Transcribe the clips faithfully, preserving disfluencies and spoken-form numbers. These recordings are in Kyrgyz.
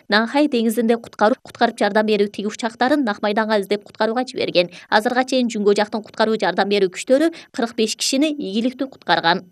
Нанхай деңизинде куткаруу куткарып жардам берүү тиги учактарын Нак майданга издеп куткарууга жиберген. Азырга чейин Жүнгө жактын куткаруу жардам берүү күчтөрү кырк беш кишини ийгиликтүү куткарган.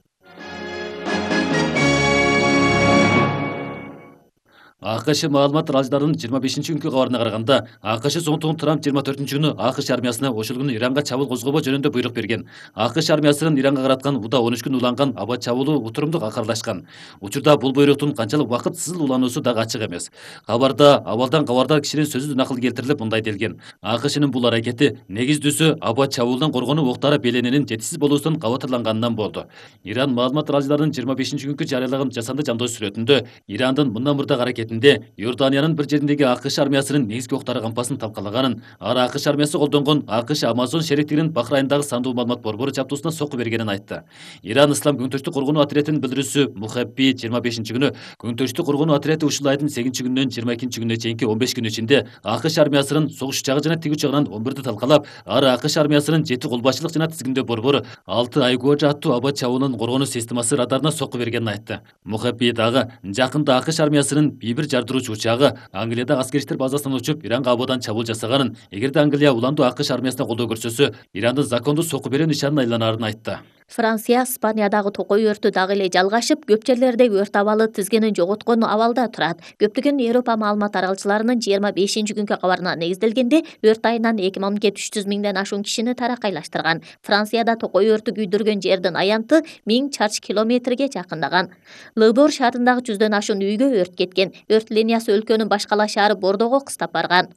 АКШ маалымат аралыштарынын жыйырма бешинчи күнкү кабарына караганда, АКШ Зонтун Трамп жыйырма төртүнчү күнү АКШ армиясына ошол күнү Иранга чабуул козгобоо жөнүндө буйрук берген. АКШ армиясынын Иранга караткан уда он үч күн уланган аба чабуулу утурумдук акырлашкан. Учурда бул буйруктун канчалык убакытсыз улануусу дагы ачык эмес. Кабарда абалдан кабардар кишинин сөзү накыл келтирилип мындай делген: АКШнын бул аракети негиздүүсү аба чабуулдан коргонуу октары беленинин жетишсиз болуусунан кабатырланганынан болду. Иран маалымат аралыштарынын жыйырма бешинчи күнкү жарыялаган жасанды жамдоо сүрөтүндө Ирандын мындан мурдагы аракетинде Иорданиянын бир жериндеги АКШ армиясынын негизги октары кампасын талкалаганын, ар АКШ армиясы колдонгон АКШ Амазон шериктигинин Бахрайындагы сандуу маалымат борбору жабдуусуна сокку бергенин айтты. Иран Ислам көңтөштүк коргонуу отрядынын билдирүүсү Мухабби жыйырма бешинчи күнү көңтөштүк коргонуу отряды ушул айдын сегизинчи күнүнөн жыйырма экинчи күнүнө чейинки он беш күн ичинде АКШ армиясынын согуш учагы жана тиги учагынан он бирди талкалап, ар АКШ армиясынын жети колбашчылык жана тизгиндөө борбору алты Айгожа аттуу аба чабуулунун коргонуу системасы радарына сокку бергенин айтты. Мухабби дагы жакында АКШ армиясынын Бибир жардыруучу учагы Англияда аскер иштер базасынан учуп Иранга абадан чабуул жасаганын, эгерде Англия уландуу АКШ армиясына колдоо көрсөтсө, Ирандын закондуу сокку берүү нишанына айланарын айтты. Франция Испаниядагы токой өртү дагы эле жалгашып, көп жерлерде өрт абалы тизгинин жоготкон абалда турат. Көптөгөн Европа маалымат аралчыларынын жыйырма бешинчи күнкү кабарына негизделгенде, өрт айынан эки мамлекет үч жүз миңден ашуун кишини таракайлаштырган. Францияда токой өртү күйдүргөн жердин аянты миң чарчы километрге жакындаган. Лыбор шаарындагы жүздөн ашуун үйгө өрт кеткен. Өрт линиясы өлкөнүн баш кала шаары Бордого кыстап барган.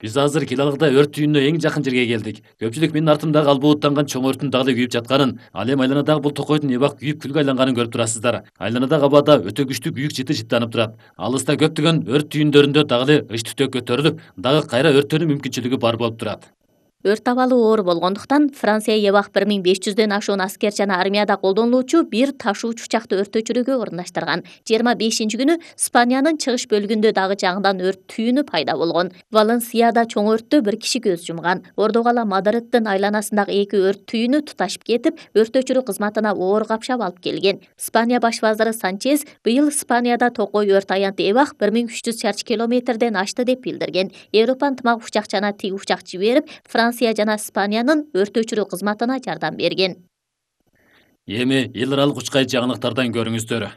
Биз азыр Килалыгда өрт түйүнүнө эң жакын жерге келдик. Көпчүлүк менин артымдагы албооттанган чоң өрттүн дагы эле күйүп жатканын, ал эми айланадагы бул токойдун эбак күйүп күлгө айланганын көрүп турасыздар. Айланадагы абада өтө күчтүү күйүк жыты жыттанып турат. Алыста көптөгөн өрт түйүндөрүндө дагы эле ыч түтөк көтөрүлүп, дагы кайра өрттөнүү мүмкүнчүлүгү бар болуп турат. Өрт абалы оор болгондуктан Франция эбак бир миң беш жүздөн ашуун аскер жана армияда колдонулуучу бир ташуучу учакты өрт өчүрүүгө орундаштырган. жыйырма бешинчи күнү Испаниянын чыгыш бөлүгүндө дагы жаңыдан өрт түйүнү пайда болгон. Валенсияда чоң өрттө бир киши көз жумган. Ордогала Мадриддин айланасындагы эки өрт түйүнү туташып кетип, өрт өчүрүү кызматына оор капшап алып келген. Испания баш вазыры Санчес быйыл Испанияда токой өрт аянты эбак бир миң үч жүз чарчы километрден ашты деп билдирген. Европа ынтымак учак жана тиги учак жиберип, Франция жана Испаниянын өрт өчүрүү кызматына жардам берген. Эми эл аралык учкай жаңылыктардан көрүңүздөр.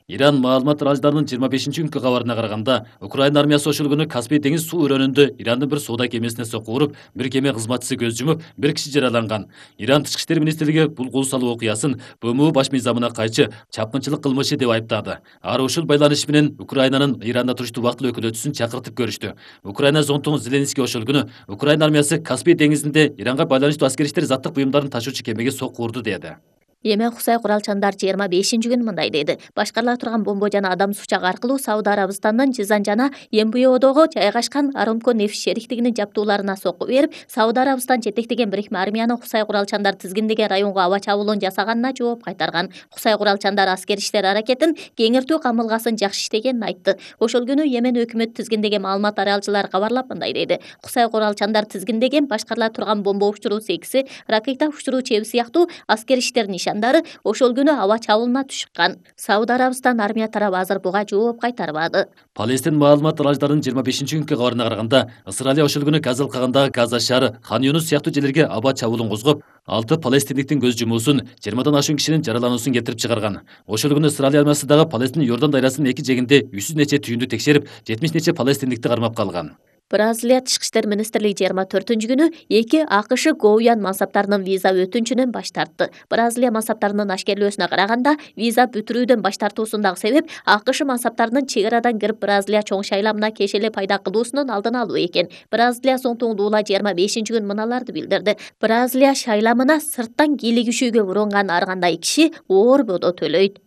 Иран маалымат аралыштарынын жыйырма бешинчи күнкү кабарына караганда, Украина армиясы ошол күнү Каспий деңиз суу өрөөнүндө Ирандын бир соода кемесине сокку уруп, бир кеме кызматчысы көз жумуп, бир киши жараланган. Иран Тышкы иштер министрлиги бул кол салуу окуясын БМУ баш мыйзамына кайчы чапкынчылык кылмышы деп айыптады. Ар ушул байланыш менен Украинанын Иранда туруштуу убактылуу өкүлөтчүсүн чакыртып көрүштү. Украина зонтугу Зеленский ошол күнү Украина армиясы Каспий деңизинде Иранга байланыштуу аскер иштер заттык буюмдарын ташуучу кемеге сокку урду деди. Эми Кусай куралчандар жыйырма бешинчи күнү мындай деди. Башкарыла турган бомба жана адам сучагы аркылуу Сауд Арабистанынын Жизан жана Эмбиодого жайгашкан Арамко нефть шериктигинин жабдууларына сокку берип, Сауд Арабистан жетектеген бирикме армиянын Кусай куралчандар тизгиндеген районго аба чабуулун жасаганына жооп кайтарган. Кусай куралчандар аскер иштер аракетин кеңиртүү камылгасын жакшы иштегенин айтты. Ошол күнү Йемен өкмөтү тизгиндеген маалымат аралчылар кабарлап мындай деди. Кусай куралчандар тизгиндеген башкарыла турган бомба учуруу секиси, ракета учуруу чеби сыяктуу аскер иштер нишан ошол күнү аба чабуулуна түшкөн. Сауд Арабистан армия тарабы азыр буга жооп кайтарбады. Палестин маалымат аралыштарынын жыйырма бешинчи күнкү кабарына караганда, Израиль ошол күнү Казалкагандагы Газа шаары, Хан Юнус сыяктуу жерлерге аба чабуулун козгоп, алты палестиндиктин көз жумуусун, жыйырмадан ашуун кишинин жаралануусун келтирип чыгарган. Ошол күнү Израиль армиясы дагы Палестин Йордан дайрасынын эки жегинде жүз нече түйүндү текшерип, жетимиш нече палестиндикти кармап калган. Бразилия Тышкы иштер министрлиги жыйырма төртүнчү күнү эки АКШ Гоуян мансаптарынын виза өтүнчүнөн баш тартты. Бразилия мансаптарынын ашкерлөөсүнө караганда, виза бүтүрүүдөн баш тартуусундагы себеп АКШ мансаптарынын чек арадан кирип Бразилия чоң шайламына кеш эле пайда кылуусунун алдын алуу экен. Бразилия Зонтугу Дуула жыйырма бешинчи күнү мыналарды билдирди. Бразилия шайламына сырттан кийлик күчүүгө урунган ар кандай киши оор бодо төлөйт.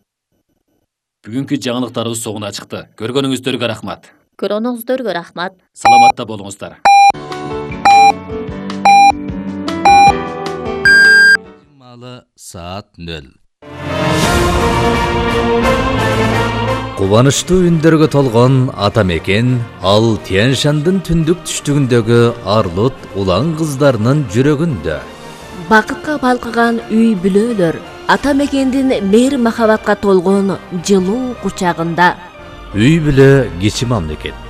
Бүгүнкү жаңылыктарыбыз соңуна чыкты. Көргөнүңүздөргө рахмат. Көргөнүңүздөргө рахмат. Саламатта болуңуздар. Саат нөл. Кубанычтуу үндөргө толгон ата мекен ал Тянь-Шандын түндүк түштүгүндөгү арлут улан кыздарынын жүрөгүндө. Бакытка балкыган үй бүлөлөр ата мекендин мейир махабатка толгон жылуу кучагында. үй бүлө кичи мамлекет.